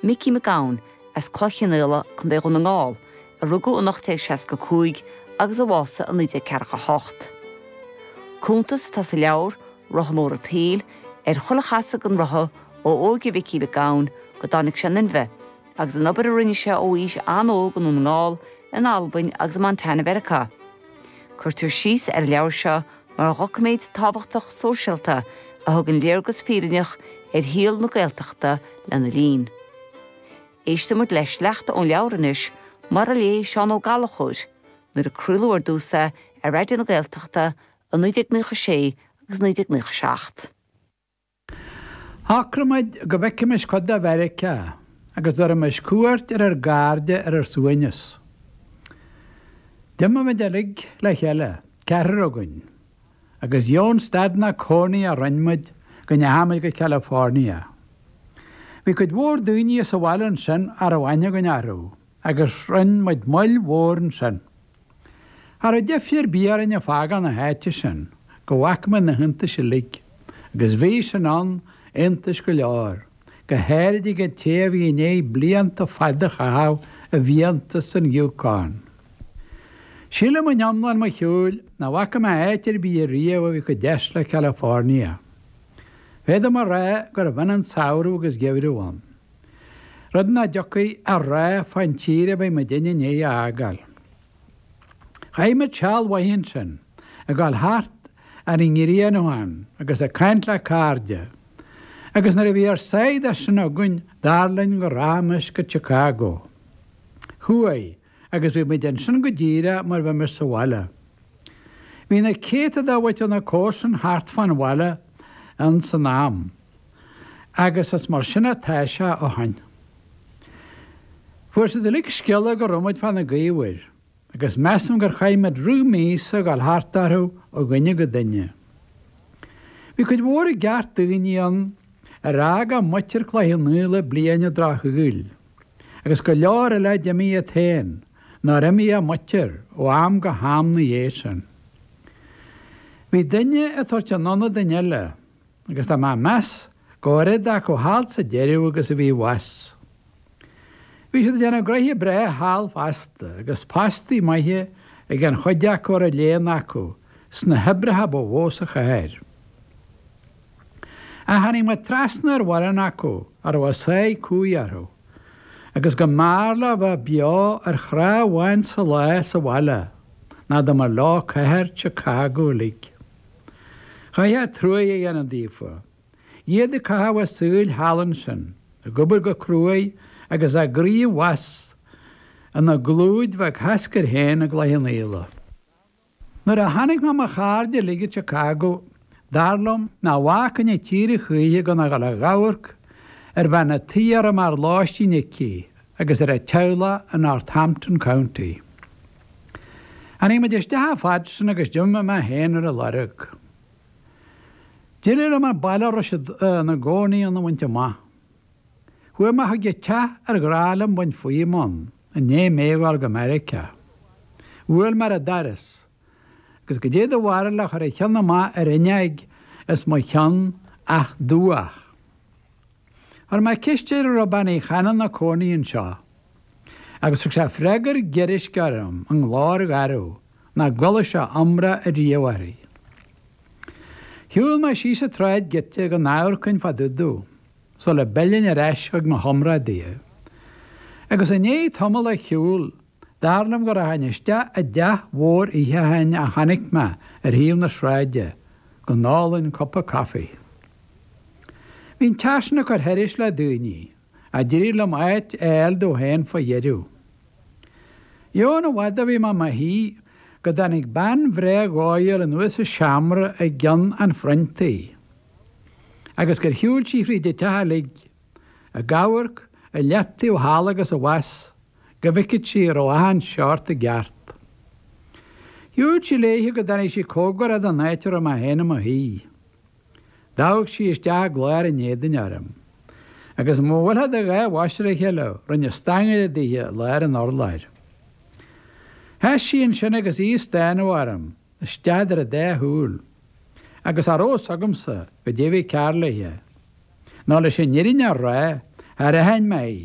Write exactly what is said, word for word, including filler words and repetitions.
Micí Mac Gabhann as Cloich Chionnaola Contae Dhún na nGall, a rugadh in ocht déag seasca cúig agus a bhásaigh in naoi déag ceathracha hocht. Cuntas atá sa leabhar Rotha Mór an tSaoil ar chuile chasadh den rotha ó óige Mhicí Mhic Gabhann go dtáinig sé in inmhe, agus an obair a rinne sé ó aois an-óg i nDún na nGall, in Albain agus i Montana Mheiriceá. Cuirtear síos ar an leabhar seo mar dhoiciméad tábhachtach sóisialta a thugann léargas fírinneach ar shaol na Gaeltachta lena linn. Éistfimid le sleachta ón leabhar anois mar a léigh Seán Ó Gallchóir, nuair a craoladh ar dtús é ar Raidió na Gaeltachta i naoi déag nócha sé agus naoi déag nócha seacht. Shocraigh muid go bhfeicfimis cuid de Mheiriceá agus dtabharfaimis cuairt ar ár gcairde ar ár suaimhneas. D'imigh muid uilig le chéile, ceathrar againn, agus dheamhan stad ná cónaí a rinne muid go ndeachaigh muid go California. Bhí cuid mhór daoine sa bhaile ansin a raibh aithne againn orthu, agus rinne muid moill mhór ansin. Cha raibh deifir ar bith orainn ag fágáil na háite sin go bhfaca muid na hiontais uilig, agus bhí sin ann iontais go leor, go háirid ag an té a bhí i ndiaidh blianta fada a chaitheamh i bhfiántas an Yukon. Sílim in iomlán mo shiúil nach bhfaca mé áit ar bith riamh a bhí chomh deas le California. Féadaim a rá gurbh ionann samhradh agus geimhreadh ann. Rud nach dtiocfaí a rá fán tír a bheidh muidinne i ndiaidh a fhágáil. Chaith muid seal mhaith ansin, ag dul thart ar an nGrianán agus ag caint le cairde, agus nuair a bhí ár sáith de sin againn dar linn go rachaimis go Chicago. Chuaigh, agus bhí muid ansin go díreach mar bheimis sa bhaile. Bhí na céadta de mhuintir na comharsan thart fán bhaile ins an am, agus is mar sin atá sé ó shin. Fuair siad uilig scéala go raibh muid fá na gaobhair, agus measaim gur chaith muid rith míosa ag dul thart orthu ó dhuine go duine. Bhí cuid mhór i gceart daoine ann ar fhág a muintir Cloich Chionnaola bliain an drochshaoil, agus go leor eile a d'imigh iad féin, nár imigh a muintir ó am go ham na dhiaidh sin. Bhí duine ag tabhairt in ionad duine eile, agus tá mé ag meas go raibh oiread acu thall sa deireadh agus a bhí abhus. Bhí siad ag déanamh gnoithe breá thall fosta, agus postaí maithe ag an chuid acu a raibh léann acu sna hoibreacha ba mhó sa chathair. Ach tháinig muid trasna ar mhórán acu a raibh a sáith cumhaidh orthu, agus go mb'fhearr leo bheith beo ar chnámh amháin sa lá sa bhaile ná dá mba leo cathair Chicago uilig. Chaithfeá truaighe a dhéanamh daofa, iad ag caitheamh a saoil thall ansin, ag obair go cruaidh agus a gcroí abhus ina gclúid bheag sheascair féin i gCloich Chionnaola. Nuair a chonaic mé mo chairde uilig i Chicago, dar liom nach bhfágfainn an tír a choíche gan a dhul ag amharc ar bhean a' tí a raibh mar lóistín aici agus ar a teaghlach i Northampton County. Tháinig muid isteach a fhad sin agus d'imigh mé féin ar a lorg. D'éirigh liom an baile a raibh siad ina gcónaí ann a bhaint amach. Chuaigh mé chuig an teach ar ghnách liom baint fúm ann i ndiaidh mé a ghabháil go Meiriceá. Bhuail mé ar an doras, agus goidé do bharúil a chuir a cheann amach ar fhuinneog os mo chionn ach dubhach. Chuir mé ceist air an raibh bean Uí Chanainn ina cónaí anseo, agus thug sé freagra giorraisc orm i nglór garbh nach gcuala sé iomrá ariamh uirthi. Shiúil mé síos an tsráid giota go n-amharcfainn fá dtaobh dó, sula bpillfinn ar ais chuig mo chomrádaithe. Agus i ndiaidh tamall a shiúil, dar liom go rachainn isteach i dteach mhór itheacháin a chonaic mé ar thaobh na sráide, go n-ólfainn cupa caife. Bhí an teach sin ag cur thairis le daoine, ach d'éirigh liom áit a fháil domh féin fá dheireadh. Dheamhan i bhfad a bhí mé i mo shuí go dtáinig bean bhreá dhóighiúil anuas as seomra i gceann an frontaigh, agus gur shiúil sí fríd an teach uilig, ag amharc i leataobh thall agus abhus go bhfeicfeadh sí an raibh achan seort i gceart. Shiúil sí léithe go dtáinig sí cóngarach don áit a raibh mé féin i mo shuí. D'amharc sí isteach i gclár an éadain orm, agus mura bhfuilfeá do dhá bhois ar a chéile, rinne stangaire dithe i lár an urláir. Sheas sí ansin agus í ag stánadh orm, isteach idir a dá shúil, agus cha raibh fhios agamsa goidé bhí cearr léithe. Nó leis an fhírinne a rá, char aithin mé í,